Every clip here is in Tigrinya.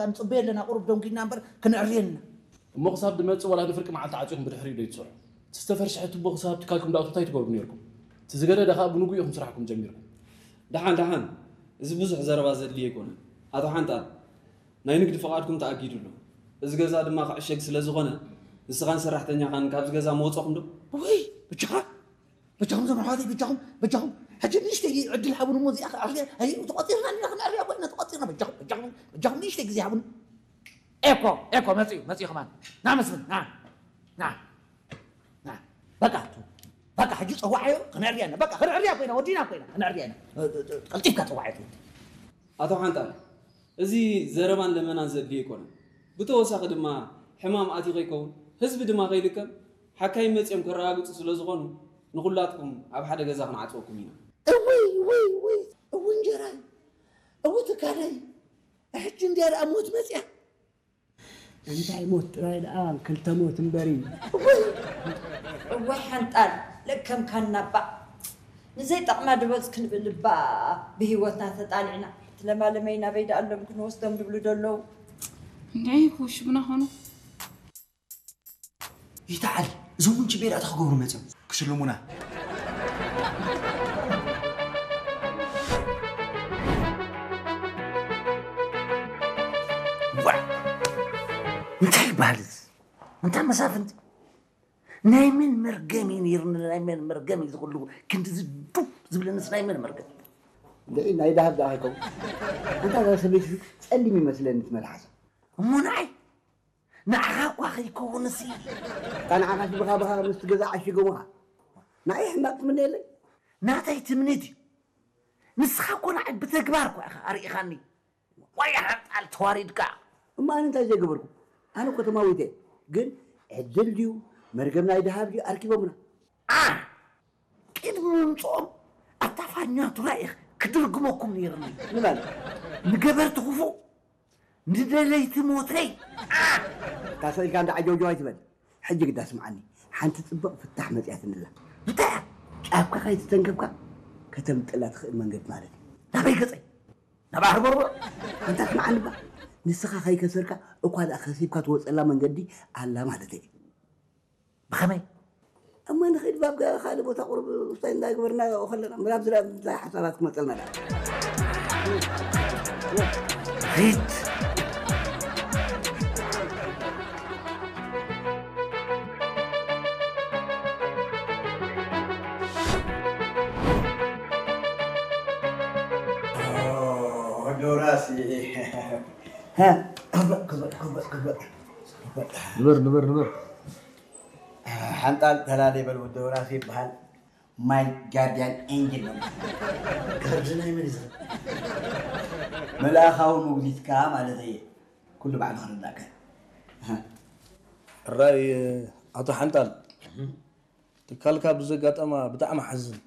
ንጽበዮ ኣለና፣ ቁሩብ ደንጒና እምበር ክነዕርየና። እሞ ክሳብ ድመጽእ ዋላ ንፍርቂ መዓልቲ ዓጺኹም ብድሕሪኡ ዶ ይትሰርሑ? እቲ ዝተፈርሸሐ ቱቦ ክሳብ ትካልኩም ድኣቱ እንታይ ትገብሩ ነይርኩም? እቲ ዝገደደ ከኣ ብንጉ ኢኹም ስራሕኩም ጀሚርኩም። ደሓን፣ ደሓን፣ እዚ ብዙሕ ዘረባ ዘድልዮ ኣይኮነን። ኣቶ ሓንጣል፣ ናይ ንግዲ ፍቓድኩም ተኣጊዱ ኣሎ። እዚ ገዛ ድማ ክዕሸግ ስለ ዝኾነ፣ ንስኻን ሰራሕተኛኻን ካብዚ ገዛ ምወጸኹም ዶ? ውይ፣ ብቻኻ፣ በጃኹም ዘመሓዋተይ፣ በጃኹም፣ በጃኹም። ሕጂ ንእሽተይ ዕድል ሃቡን እሞ እዚኣ ክኣርያ፣ ኣይ፣ ተቖጺርና ኣለና፣ ክንኣርያ ኮይና ተቖጺርና፣ በጃኹም፣ በጃኹም፣ በጃኹም ንእሽተይ ግዜ ሃቡን። ኤኮ፣ ኤኮ፣ መጺኡ፣ መጺኡ ከማን። ና መስፍን፣ ና፣ ና፣ ና። በቃ፣ በቃ፣ ሕጂ ጸዋዓዮ፣ ክንኣርያ ኣለና። በቃ፣ ክንኣርያ ኮይና፣ ወዲና ኮይና፣ ክንኣርያ ኢና። ቀልጢፍካ ጸዋዓዮ። ኣቶ ሓንጣል፣ እዚ ዘረባን ለመናን ዘድልዮ ኣይኮነን። ብተወሳኺ ድማ ሕማም ኣትዩ ከይከውን፣ ህዝቢ ድማ ከይልከም፣ ሓካይም መጺኦም ከረጋግጹ ስለ ዝኾኑ፣ ንኹላትኩም ኣብ ሓደ ገዛ ክንዓጽወኩም ኢና። እውይ፣ እውይ፣ እውይ፣ እው እንጀራይ፣ እው ትካለይ፣ ሕጂ እንድያ ደኣ ሞት መጺኣ። እንታይ ሞት ጥራይ ደኣ፣ ክልተ ሞት እምበሪ። እውይ፣ እዋይ ሓንጣል፣ ለከምካና እባ። ንዘይጠቕማ ድበጽ ክንብል እባ ብህይወትና ተጣሊዕና። እቲ ለማለመይ ናበይ ደኣ ኣሎም ክንወስዶም ድብሉ ደለዉ። እንድዒ ክውሽቡና ኾኑ። ይተዓል፣ እዞም ምንጪ ቤት ኣታ ክገብሩ መጺኦም። ክሽልሙና። ዋ! እንታይ ይበሃል እዚ? እንታይ መሳፍንቲ? ናይ መን መርገም እዩ ነይሩ? ናይ መን መርገም እዩ ዝኹሉ ክንዲ ዝዱብ ዝብለንስ ናይ መን መርገም? እንድዒ ናይ ደሃብ ደኣ ኣይከውን። ኣንታ እዛ ሰበይቲ ጸሊም ይመስለኒ እቲ መልሓሳ። እሞ ንዓይ? ንዓኻ እኳ ከይከውንሲ። እታ ንዓኻሲ ብኻ ብኻ ምስቲ ገዛ ዓሺጎምኻ። ንዓይ ሕማቕ ትምነየለይ? ናተይ ትምኒት እዩ። ንስኻ እኮ ንዓይ ብተግባር እኳ ኢኻ ኣርኢኻኒ። ዋይ ሓንጣል ተዋሪድካ። እሞ ኣነ እንታይ ዘይገበርኩ? ኣነ እኮ ተማዊተ። ግን ዕድል ድዩ መርገም ናይ ደሃብ ድዩ ኣርኪቦምና? ኣ! ቅድሚ ምምጽኦም ኣታ ፋኛቱራ ኢኽ ክድርግመኩም ነይርኒ። ንመን? ንገበርቲ ክፉእ፣ ንደለይቲ ሞተይ። ኣ! ታሰ ኢልካ እንዳ ዓጀውጀው ኣይትበል። ሕጂ ግዳ ስምዓኒ፣ ሓንቲ ጽብቕ ፍታሕ መጺኣትኒ ኣላ። እንታይ እያ? ጫፍካ ከይተተንከፍካ ከተምጥላ ትኽእል መንገዲ ማለት እዩ። ናበይ ገጸይ? ናብ ኣህርቦርቦር? ኣንታ ስምዓኒ እባ፣ ንስኻ ከይከሰርካ እኳ ደኣ ከሲብካ ትወጸላ መንገዲ ኣላ ማለተይ እዩ። ብኸመይ? እሞ ንኸይድ ባብ ገ-፣ ካልእ ቦታ ቁሩብ ውሳኔ እንዳገበርና ከለና፣ ምናብ ዝላ-፣ እንታይ ሓሳባት ክመጸልና ደኣ? ሪት። ኦ፣ ዶራሲ። ሃ፣ ክበጥ፣ ክበጥ፣ ክበጥ፣ ክበጥ። ንበር፣ ንበር፣ ንበር። ሓንጣል ተላለ በል ወዲ ዶራሲ ይበሃል። My guardian angel ነው። ካርድ ናይ መን እዩ ዝኽእል? መልኣኻዊ መጉሊትካ ማለት እየ። ኩሉ ባዕሉ ክርዳእካ። እራይ ኣቶ ሓንጣል፣ ትካልካ ብዘጋጠማ ብጣዕሚ ሓዝን።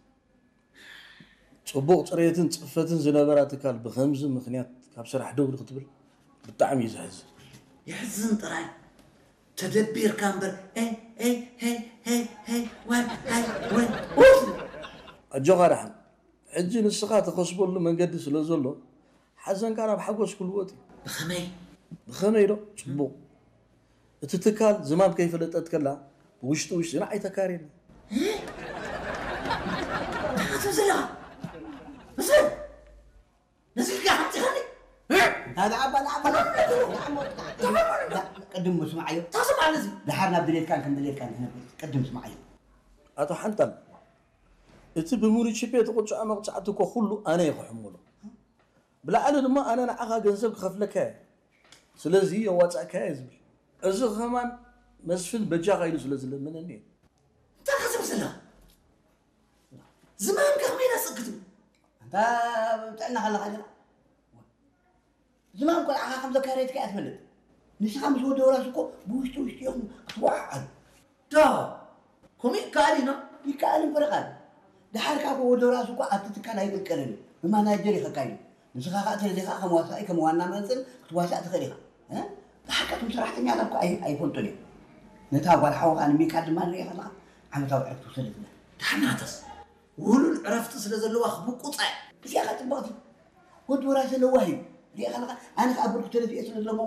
ጽቡቕ ጽሬትን ጽፈትን ዝነበራ ትካል ብኸምዚ ምኽንያት ካብ ስራሕ ደው ክትብል ብጣዕሚ እዩ ዘሕዝን። የሕዝን ጥራይ። ተደቢርካ እምበር፣ ኤይ፣ ኤይ፣ ሄይ፣ ሄይ፣ ሄይ፣ ዋይ፣ ሃይ፣ ወይ፣ ኡፍ! ኣጆኻ ደሓን። ሕጂ ንስኻ ትኸስበሉ መንገዲ ስለ ዘሎ፣ ሓዘንካ ናብ ሓጎስ ክልወጥ እዩ። ብኸመይ? ብኸመይ ዶ? ጽቡቕ። እቲ ትካል ዝማም ከይፈለጠት ከላ፣ ብውሽጢ ውሽጢ ንዓይ ተካርየኒ። እንታይ ክትብል ዘለኻ? ምስል! ነዚ ኢልካ ሓምፂኻኒ? እንታይ ደኣ፣ ኣባ፣ ደኣ፣ ኣባ፣ ደኣ፣ ደኣ፣ ደኣ፣ ቅድም ስምዓዮ። እንታይ ስምዓኒ እዚ? ደሓር ናብ ድሌትካን ከም ድሌትካን ክነብር። ቅድም ስምዓዮ። ኣቶ ሓንጣል፣ እቲ ብሙሪቺፔ ተቆጽዖ መቕጻዕቲ እኮ ኩሉ ኣነ እየ ክሕምሎ። ብላዕሊ ድማ ኣነ ንዓኻ ገንዘብ ክኸፍለካ እየ። ስለዚ የዋጻእካዮ እየ ዝብል። እዚ ኸማን መስፍን በጃኻ ኢሉ ስለ ዝለመነኒ እየ። እንታይ ክትብል ዘለኻ? ዝማም ከመይ ኢላ ስቕ ክትብል? ኣንታ ጥዕና ከለኻ ጀና። ዝማም ቆልዓኻ ከም ዘካረየትካ እያ ትፈልጥ። ንስኻ ምስ ወዲ ወራስ እኮ ብውሽጢ ውሽጢ ኢኹም ክትወዓዓሉ። ዶ? ከምኡ ይከኣል እዩ፣ ኖ? ይከኣል እምበር ቃል። ደሓር ካብ ወዲ ወራስ እኮ ኣብቲ ትካል ኣይቅልቀልን እዩ። ብማናጀር እዩ ከካይዱ። ንስኻ ኸኣ ተደሊኻ ከም ዋሳኢ፣ ከም ዋና መንጽል ክትዋሳእ ትኽእል ኢኻ። እ? ብሓቂ እቶም ሰራሕተኛታት እኮ ኣይ-፣ ኣይፈልጡን እዮም። ነታ ጓል ሓውኻ ንሚካ ድማ ንሪኦ ከለኻ ዓመታዊ ዕረፍቲ ውሰደትና። ደሓር ናተስ ውሉል ዕረፍቲ ስለ ዘለዋ ክብቁጻ እያ። እዚኣ ኸኣ ጽብቕቲ። ወዲ ወራስ ለዋህ እዩ። ሪኦ ከለኻ ኣነ ኸኣ ብርኩ ተደፊኤ ስለ ዘለሞ